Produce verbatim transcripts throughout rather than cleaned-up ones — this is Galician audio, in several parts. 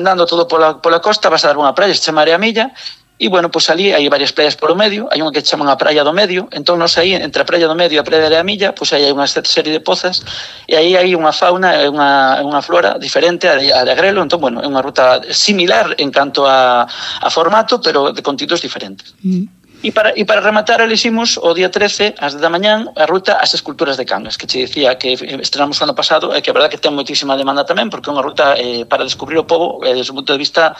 andando todo pola, pola costa, vas a dar unha praia, se chama Areamilla, e, bueno, pois ali hai varias praias polo medio, hai unha que chaman a Praia do Medio, entón nos aí, entre a Praia do Medio e a Praia de Areamilla, pois aí hai unha serie de pozas, e aí hai unha fauna e unha, unha flora diferente a de, a de Agrelo, entón, bueno, é unha ruta similar en canto a, a formato, pero de contidos diferentes. Mm. E para, e para rematar, eliximos o día trece, ás dez da mañán, a ruta ás esculturas de Cangas, que che dicía que estrenamos o ano pasado, e que a verdad que ten moitísima demanda tamén, porque é unha ruta eh, para descubrir o pobo eh, desde un punto de vista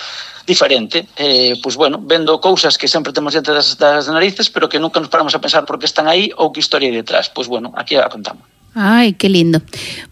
diferente. Eh, pois, bueno, vendo cousas que sempre temos diante das, das narices, pero que nunca nos paramos a pensar por que están aí ou que historia hai detrás. Pois, bueno, aquí a contamos. Ai, que lindo.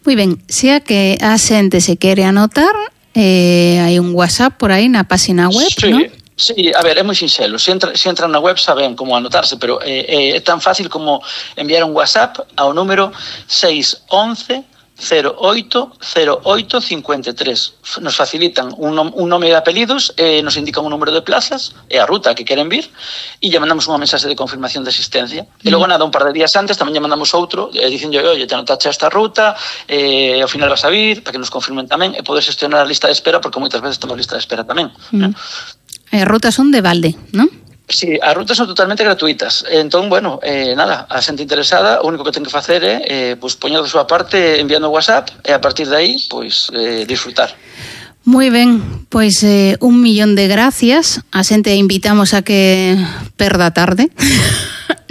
Moi ben, sea que a xente se quere anotar, eh, hai un WhatsApp por aí na página web, sí. non? Sí, a ver, é moi sinxelo. Se, entra, se entran na web saben como anotarse, pero eh, é tan fácil como enviar un WhatsApp ao número seis once cero oito cero oito cinco tres. Nos facilitan un, nom un nome de apelidos, eh, nos indican un número de plazas e a ruta que queren vir, e lle mandamos unha mensaxe de confirmación de asistencia. Mm. E logo nada, un par de días antes tamén lle mandamos outro, eh, dicindo, oye, te anotaste esta ruta, eh, ao final vas a vir, para que nos confirmen tamén, e podes gestionar a lista de espera, porque moitas veces temos lista de espera tamén. Mm. Eh? As rutas son de balde, non? Sí, as rutas son totalmente gratuitas. Entón, bueno, eh, nada, a xente interesada, o único que ten que facer é eh, pues, poñer da súa parte enviando WhatsApp e a partir de aí, pois, eh, disfrutar. Moi ben, pois eh, un millón de gracias. A xente invitamos a que perda tarde.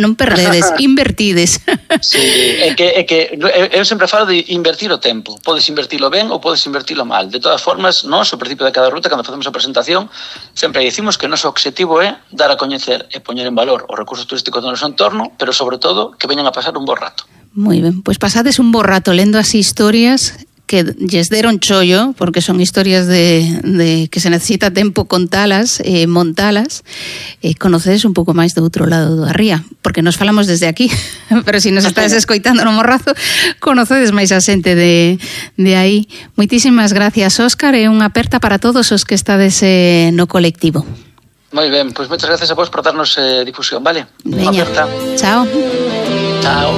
Non perdedes, invertides. Sí, é que, é que eu sempre falo de invertir o tempo. Podes invertilo ben ou podes invertilo mal. De todas formas, nós, ao principio de cada ruta, cando facemos a presentación, sempre dicimos que o noso objetivo é dar a coñecer e poñer en valor os recursos turísticos do noso entorno, pero sobre todo que veñan a pasar un bo rato. Moi ben, pois pasades un bo rato lendo as historias que lles deron chollo, porque son historias de, de que se necesita tempo contalas, eh, montalas, e eh, conocedes un pouco máis do outro lado da ría, porque nos falamos desde aquí, pero se si nos estás escoitando no Morrazo, conocedes máis a xente de, de aí. Moitísimas gracias, Óscar, e unha aperta para todos os que estades eh, no colectivo. Moi ben, pois moitas gracias a vos por darnos eh, difusión, vale? Veña, unha aperta. Chao. Chao.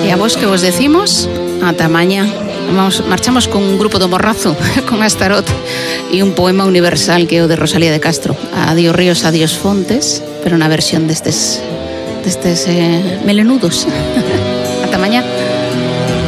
E a vos que vos decimos, ata mañá. Vamos, marchamos con un grupo do Morrazo, con Astarot, e un poema universal que é o de Rosalía de Castro. Adiós ríos, adiós fontes, pero na versión destes, destes eh, melenudos. Ata mañá.